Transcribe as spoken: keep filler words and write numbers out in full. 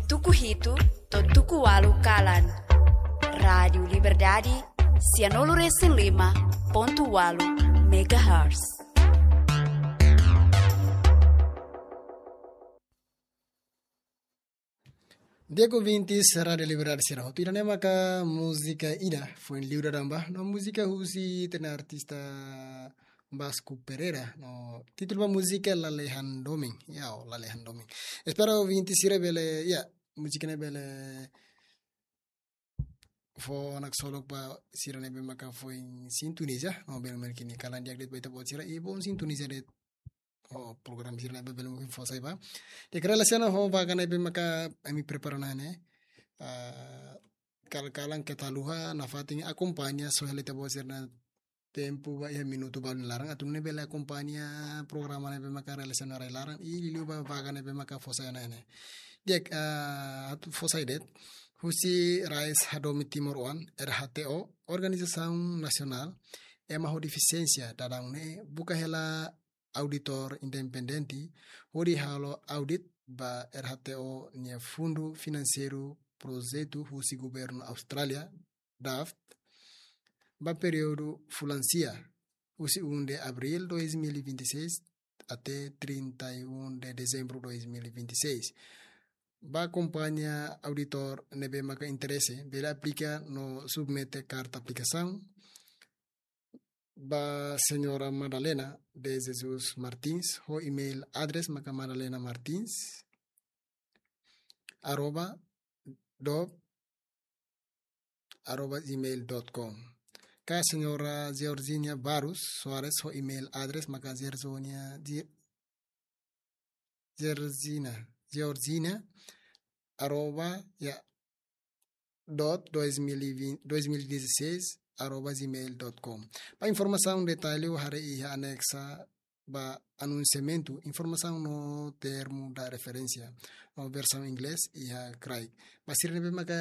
Tuku hitu to'o tuku ualu kalan. Rádiu Liberdade, sianulu resin lima pontu ualu megahertz. Di'ak ouvintes Rádiu Liberdade sira hotu, ida-ne'e maka múzika ida foin liu dadaun ba, no múzika husi ita-nia artista Vasco Pereira, no títulu ba múzika Lalehan Domin, ya, o Lalehan Domin. Espera ouvintes sira bele, ya, múzika ne'e bele fó naksolok ba sira ne'ebé maka foin sintoniza, no bele merkini kalan di'ak de'it ba ita-boot sira, i bom sintoniza de'it ho programa sira ne'ebé bele mungkin fó sai ba. Di'ak, relasiona ho vaga ne'ebé maka ami prepara ona ne'e. Ah, kal-, kalan keta haluha nafatin akompaña, só hela ita-boot sira-nia tempu ba iha minutu balu nia laran, atu nune'e bele akompaña programa ne'ebé maka relasiona rai-laran, i liuliu ba vaga ne'ebé maka fó sai ona ne'e. Di'ak, ah, atu fó sai de'it, husi rais hadomi timoroan, R H T O, organizasaun nasionál ema ho defisiénsia, dadaun ne'e buka hela auditór independente hodi halo audit ba R H T O nia fundu finanseiru projetu husi governu Austrália, DAFT, ba períodu fulan sia, husi um de abril dois mil e vinte e seis até trinta e um de dezembro dois mil e vinte e seis. Ba kompañia auditór ne'ebé maka interese, bele aplika no submete karta aplikasaun ba Señora Madalena de Jesus Martins, ho email address maka Madalena Martins arroba dob arroba gmail dot com. Ka Señora Georgina Barros Soares, ho email address maka Georgina, Ge-, Georgina, Georgina arroba, ya, dot dois mil e vinte, dois mil e dezasseis arroba gmail dot com. Ba informasaun detalle haree iha anexa ba anunsiamentu, informasaun no termu da referénsia, no versaun inglés iha kraik. Ba sira ne'ebé maka